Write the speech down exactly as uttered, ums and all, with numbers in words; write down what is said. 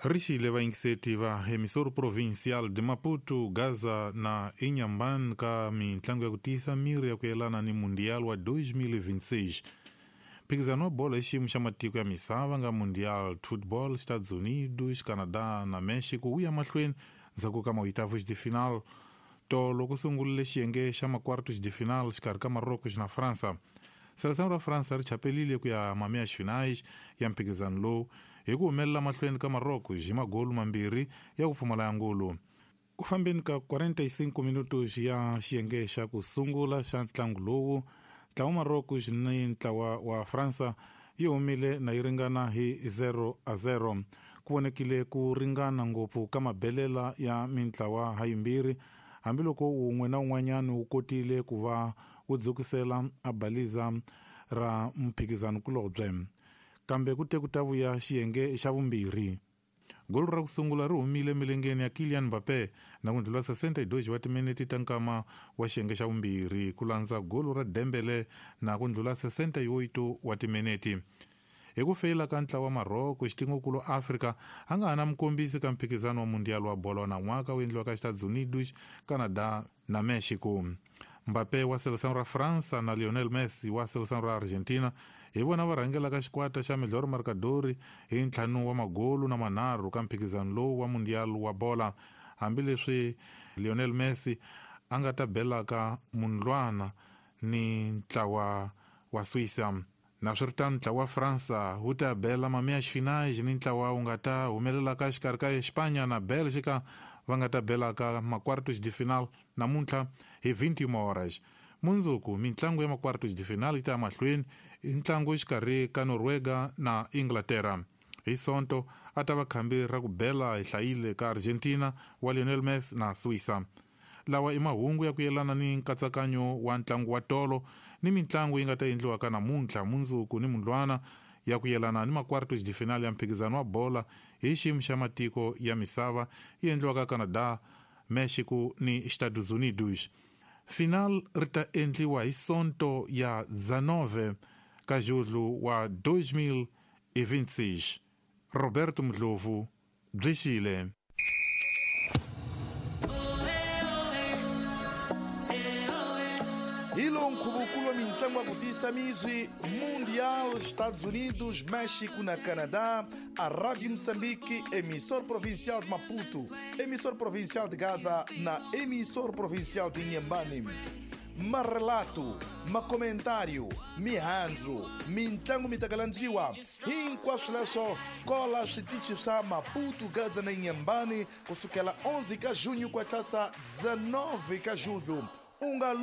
Rixile vayingiseti va emissor provincial de Maputo, Gaza na Inhambane ka mintlangu ya ku tiyisa miri ya ku yelana ni Mundial wa dois mil e vinte e seis. Mphikizano wa bolo hi xiyimo xa matiko ya misava nga Mundial Football, Estados Unidos, Canadá na Mexico wu ya mahlweni ndzhaku ka maoitavos de final. Tolo ku sungurile xiyenge xa makwartos de final xikarhi ka Marrocos na França. Seleção ra França ri chapelile ku ya meias finais ya mphikizano lowu hi ku humelela mahlweni ka Marrocos hi magolu mambirhi ya ku pfumala ya ngulu. Ku fambeni ka quarenta e cinco minutos ya xiyenge xa ku sungula xa ntlangu lowu, ntlawa wa Marrocos ni ntlawa wa França yi humile na yi ringana hi zero a zero. Ku vonekile ku ringana ngopfu ka mabelela ya mintlawa ha yimbirhi, hambiloko wun'we na wun'wanyana wu kotile ku va wu dzukisela a baliza ra mphikizano kulobye. Kambe ku te ku ta vuya xiyenge xa vumbirhi. Golo ra ku sungula ri humile milengeni ya Kylian Mbappé na ku ndlhula sessenta e dois wa timinete ta nkama wa xiyenge xa vumbirhi ku landza golo ra Dembélé na ku ndlhula sessenta e oito wa timinete. Hi ku feyila ka ntlawa wa Marrocos, xitingokulu Afrika a nga ha na mukombisi ka mphikizano wa Mundial wa bolo nan'waka wu endliwaka Estados Unidos, Canada na Mexico. Mbappé wa seleção ra França na Lionel Messi wa seleção ra Argentina hi vona va rhangelaka xikwata xa melhor marcador hi ntlhanu wa magolu na manharhu ka mphikizano lowu wa Mundial wa bola, hambileswi Lionel Messi a nga ta belaka mundlwana ni ntlawa wa Suíça. Naswiritano ntlawa wa França wu ta bela meias finais ni ntlawa wu nga ta humelelaka xikarhi ka Espanha na Bélgica va nga ta belaka makwartos de final namuntlha hi vinte e uma horas. Mundzuku mintlangu ya makwartos de final yi ta ya mahlweni hi ntlangu xikarhi ka Noruega na Inglaterra. Hi Sonto a ta va khambi ra ku bela hi hlayile ka Argentina wa Lionel Messi na Suíça. Lawa i mahungu ya ku yelana ni nkatsakanyo wa ntlangu wa tolo ni mintlangu yi nga ta endliwaka namuntlha, mundzuku ni mundlwana ya ku yelana ni makwartos de final ya mphikizano wa bola hi xiyimo xa matiko ya misava yi endliwaka Canada, Mexico ni Estados Unidos. Final ri ta endliwa hi Sonto ya dezenove ka julho wa dois mil e vinte e seis. Roberto Mdlovu, Bwixile. Hi lowu nkhuvukulo wa mintlangu ya ku tiyisa miri Mundial, Estados Unidos, México na Canadá, a Rádio Moçambique, emissor provincial de Maputo, emissor provincial de Gaza na emissor provincial de Inhambane. Ma relato, ma comentário, mihandzu, mintlangu mi takalandziwa, hinkwaswo leswo kola switichi swa Maputo, Gaza na Inhambane kusukela onze ka junho ku hatlasa dezenove ka julho. U nga